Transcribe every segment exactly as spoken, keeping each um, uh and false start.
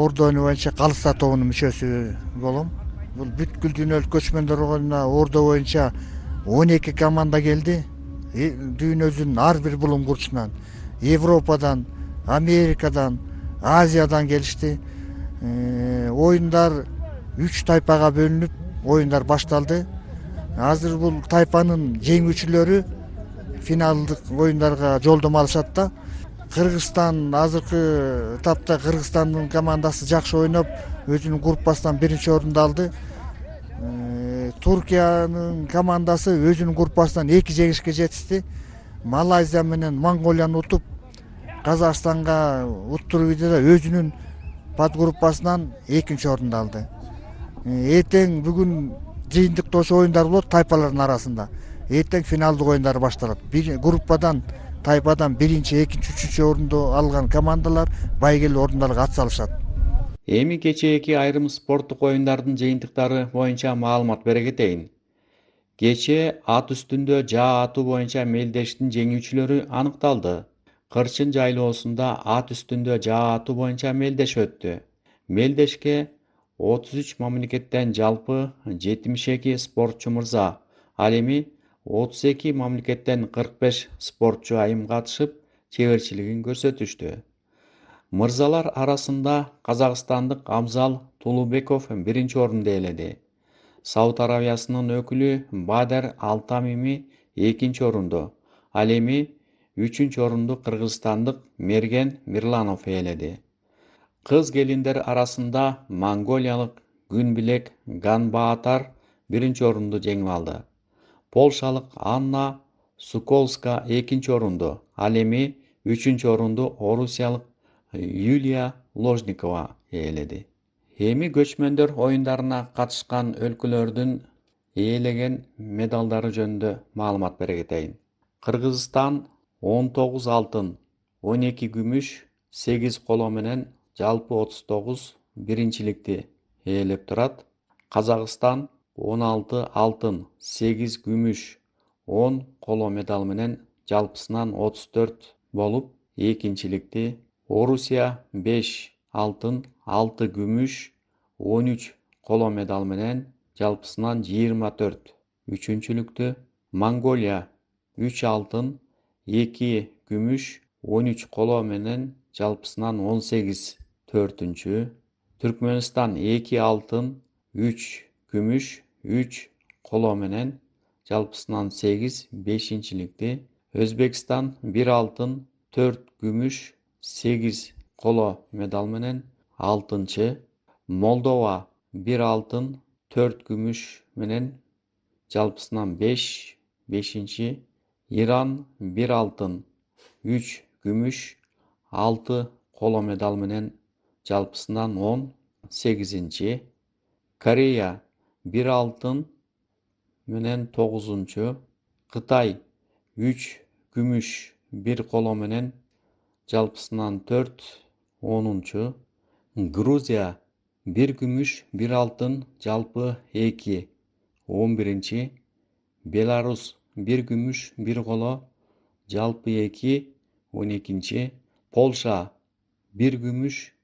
орду оюну боюнча Калыста тобунун мүчөсү болом. Бул бүткүл дүйнөлүк көчмөндөр оюнуна ордо боюнча он эки команда келди. Дүйнөбүздүн ар бир булуңгурчунан, Европадан, Америкадан, Азиядан келишти. Оюндар үч тайпага бөлүнүп, оюндар башталды. Азыр бул тайпанын жеңүүчүлөрү финалдык оюндарга жолдомо алышат да. Кыргызстан азыркы этапта Кыргызстандын командасы жакшы ойноп, өзүнүн группасынан биринчи орунду алды. Туркиянын командасы өзүнүн группасынан эки жеңишке жетишти. Малайзия менен Монголияны утуп, Казакстанга уттуруп ийди, өзүнүн подгруппасынан экинчи орунду алды. Эртең бүгүн жыйынтыктоочу оюндар болот тайпалардын арасында. Эртең финалдык оюндар башталат. Бир группадан, тайпадан биринчи, экинчи, үчүнчү орунду алган командалар байгелүү орундарга ат салышат. Эми кечээки айрым спорттук оюндардын жыйынтыктары боюнча маалымат бере кетейин. Кечээ ат үстүндө жаа атуу боюнча мелдештин жеңүүчүлөрү аныкталды. Кырчын жайлоосунда ат үстүндө жаа атуу боюнча мелдеш өттү. Мелдешке отуз үч мамлекеттен жалпы жетимиш эки спортчу мырза, ал эми отуз эки мамлекеттен кырк беш спортчу айым катышып, чеберчилигин көрсөтүштү. Мырзалар арасында казакстандык Абзал Тулубеков биринчи орунду ээледи. Сауд Аравиясынын өкүлү Бадер Алтамими экинчи орунду, ал эми үчүнчү орунду кыргызстандык Мерген Мирланов ээледи. Кыз келиндер арасында монголиялык Күнбилек Ганбаатар биринчи орунду жеңип алды. Полшалык Анна Суколска экинчи орунду, ал эми үчүнчү орунду орусиялык Юлия Ложникова ээледи. Эми көчмөндөр оюндарына катышкан өлкөлөрдүн ээлеген медалдары жөнүндө маалымат бере кетейин. Кыргызстан он тогуз алтын, он эки күмүш, сегиз коло менен жалпы отуз тогуз биринчиликти ээлеп турат. Казакстан он алты алтын, сегиз күмүш, он коло медал менен жалпысынан отуз төрт болуп экинчиликти, Орусия беш алтын, алты күмүш, он үч коло медал менен жалпысынан жыйырма төрт үчүнчүлүктү, Монголия үч алтын, эки күмүш, он үч коло менен жалпысынан он сегиз төртүнчү, Түркмөнстан эки алтын, үч күмүш, үч коло менен жалпысынан сегиз бешинчиликти, Өзбекстан бир алтын, төрт күмүш, сегиз коло медал менен алтынчы, Молдова бир алтын, төрт күмүш менен жалпысынан беш бешинчи, Иран бир алтын, үч күмүш, алты коло медал менен жалпысынан он сегизинчи, Корея бир алтын менен тогузунчу, Кытай үч күмүш, бир коло менен жалпысынан төрт онунчу, Грузия бир күмүш, бир алтын, жалпы эки он биринчи, Беларус бир күмүш, бир коло, жалпы эки он экинчи, Полша бир күмүш,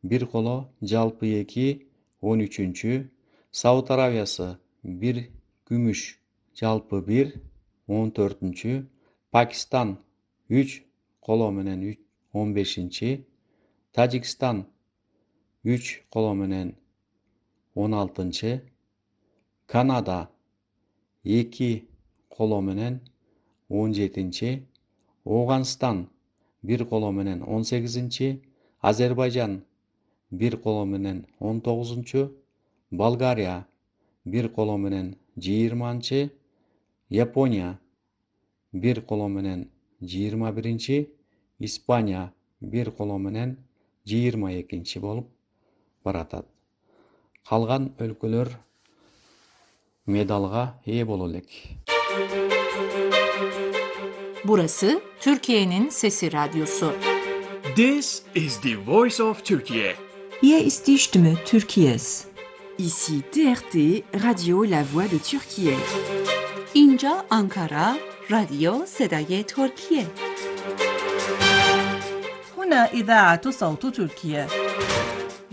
бир коло, жалпы эки он үчүнчү, Сауд Аравиясы бир күмүш, жалпы бир он төртүнчү, Пакистан үч коло менен он бешинчи, Тажикстан үч коло менен он алтынчы, Канада эки коло менен он жетинчи, Ооганстан бир коло менен он сегизинчи, Азербайжан бир коло менен он тогузунчу, Болгария бир коло менен жыйырманчы, Япония бир коло менен жыйырма биринчи, Испания бир коло менен жыйырма экинчи болуп баратат. Калган өлкөлөр медалга ээ боло элек. Burası Türkiye'nin Sesi Radyosu. This is the voice of Turkey. Hier ist die Stimme Türkiye's. Ici T R T, Radio La Voix de Türkiye. اینجا آنکارا، رادیو صدای ترکیه. هنا إذاعة صوت تركيا.